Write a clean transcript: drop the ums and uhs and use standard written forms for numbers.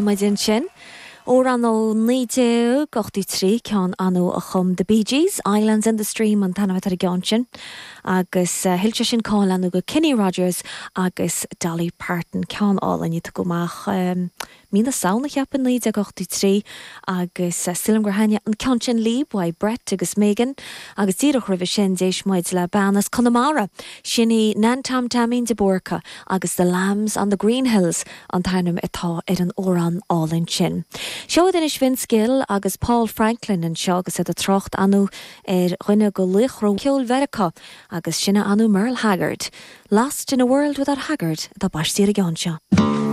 Muid ansin. Amhrán ó 1983, ceann ann a chum The Bee Gees, Islands in the Stream an t-ainm atá ar an gceann sin, agus thuill sé sin cáil ann do Kenny Rogers agus Dolly Parton, ceann álainn a tugadh amach mí na Samhna, cheapfainn, 1983, agus sílim gur thaitnigh an ceann sin libh, uaidh Brett agus Megan, agus díreach roimhe sin d'éist muid le bean as Conamara, sin í Nan Tom Taimín de Búrca agus The Lambs on the Green Hills. an t-ainm atá ar an amhrán álainn sin. Seo iad anois Vince Gill agus Paul Franklin anseo agus iad ag trácht ann ar dhuine de laochra ceoil Mheiriceá agus sin é ann Merle Haggard. Lost in a World Without Haggard atá baistí ar an gceann seo.